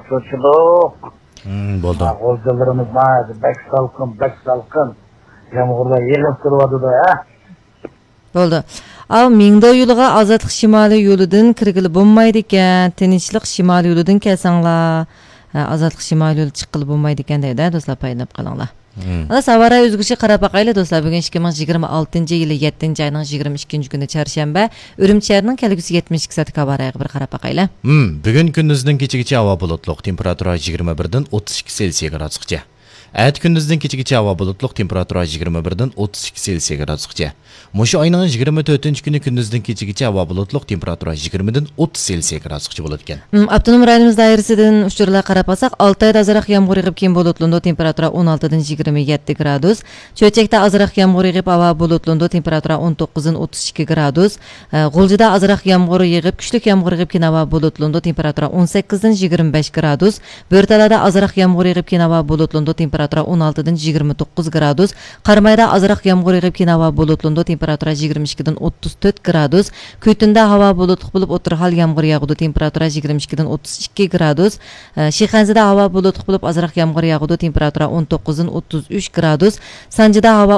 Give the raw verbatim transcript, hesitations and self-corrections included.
سوچىدۇق. ھىم، بولدى. ھا، غۇلجىلىرىمىز ناھايىتى بەك سالقىن، بەك سالقىن. يامغۇرلار يېغىپ تۇرۇۋاتىدۇ، ھە؟ بولدى. ئاۋۇ مىڭدو يولىغا ئازادلىق شىمالىي يولىدىن كىرگىلى بولمايدىكەن، تىنچلىق شىمالىي يولىدىن كەلسەڭلار. ھە، ئازادلىق شىمالىي يولى چىققىلى بولمايدىكەن دەيدۇ، ھە، دوستلار، پايدىلىنىپ قېلىڭلار. مم. خالاس، ھاۋا رايى ئۆزگىرىشىگە قاراپ باقايلى، دوستلار. بۈگۈن ئىككى مىڭ يىگىرمە ئالتىنچى يىلى يەتتىنچى ئاينىڭ يىگىرمە ئىككىنچى كۈنى، چارشەنبە. ئۈرۈمچى شەھىرىنىڭ كەلگۈسى يەتمىش ئىككى سائەتلىك ھاۋا رايىغا بىر قاراپ باقايلى. مم، بۈگۈن كۈندۈزدىن كېچىگىچە ھاۋا بۇلۇتلۇق، تېمپېراتۇرا يىگىرمە بىردىن ئوتتۇز ئىككى سېلسىيە گرادۇسقىچە. ئەتە كۈندۈزدىن كېچىگىچە ھاۋا بۇلۇتلۇق، تېمپېراتۇرا يىگىرمە بىردىن ئوتتۇز ئىككى سېلسىيە گرادۇسقىچە. مۇشۇ ئاينىڭ يىگىرمە تۆتىنچى كۈنى كۈندۈزدىن كېچىگىچە ھاۋا بۇلۇتلۇق، تېمپېراتۇرا يىگىرمىدىن ئوتتۇز سېلسىيە گرادۇسقىچە بولىدىكەن. ھىم، ئاپتونوم رايونىمىز دائىرىسىدىن ئۇچۇرلارغا قاراپ قالساق، ئالتايدا ئازراق يامغۇر يېغىپ، كېيىن بۇلۇتلىنىدۇ، تېمپېراتۇرا ئون ئالتىدىن يىگىرمە يەتتە گرادۇس. چۆچەكتە ئازراق يامغۇر يېغىپ، ھاۋا بۇلۇتلىنىدۇ، تېمپېراتۇرا ئون توققۇزدىن ئوتتۇز ئىككى گرادۇس. ئە، غۇلجىدا ئازراق يامغۇر يېغىپ، كۈچلۈك يامغۇر يېغىپ، كېيىن ھاۋا بۇلۇتلىنىدۇ، تېمپېراتۇرا ئون سەككىزدىن يىگىرمە بەش گرادۇس. بۆرتالادا ئازراق يامغۇر يېغىپ، كېيىن ھاۋا بۇلۇتلىنىدۇ، تېمپېراتۇرا ئون ئالتىدىن يىگىرمە توققۇز گرادۇس. قارامايدا ئازراق يامغۇر يېغىپ، كېيىن ھاۋا بۇلۇتلىنىدۇ، تېمپېراتۇرا يىگىرمە ئىككىدىن ئوتتۇز تۆت گرادۇس. كۈيتۇندا ھاۋا بۇلۇتلۇق بولۇپ، ئوتتۇرا ھال يامغۇر ياغىدۇ، تېمپېراتۇرا يىگىرمە ئىككىدىن ئوتتۇز ئىككى گرادۇس. ئە، شىخەنزىدە ھاۋا بۇلۇتلۇق بولۇپ، ئازراق يامغۇر ياغىدۇ، تېمپېراتۇرا ئون توققۇزدىن ئوتتۇز ئۈچ گرادۇس. سانجىدا ھاۋا